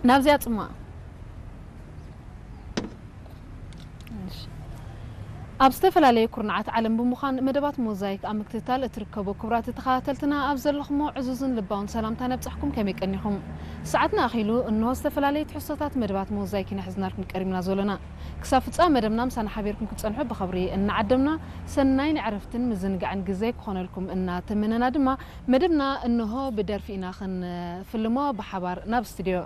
ናብዚኣ ጽማ ኣብ ዝተፈላለየ ኩርናዓት ዓለም ብምዃን መደባት ሞዛይክ ኣብ ምክትታል እትርከቡ ክቡራት ተኸታተልትና፣ ኣብ ዘለኹሞ ዕዙዝን ልባውን ሰላምታ ነብጻሕኩም። ከመይ ቀኒኹም? ሰዓትና ኣኺሉ፣ እንሆ ዝተፈላለየ ትሕዝቶታት መደባት ሞዛይክ ኢና ሒዝናልኩም ቀሪብና ዘሎና። ክሳብ ፍጻመ መደብና ምሳና ሓቢርኩም ክትጸንሑ ብኽብሪ እናዓደምና፣ ሰናይ ናይ ዕረፍትን ምዝንጋዕን ግዜ ክኾነልኩም እናተመነና ድማ፣ መደብና እንሆ ብደርፊ ኢና ክንፍልሞ ብሓባር ናብ ስቱድዮ።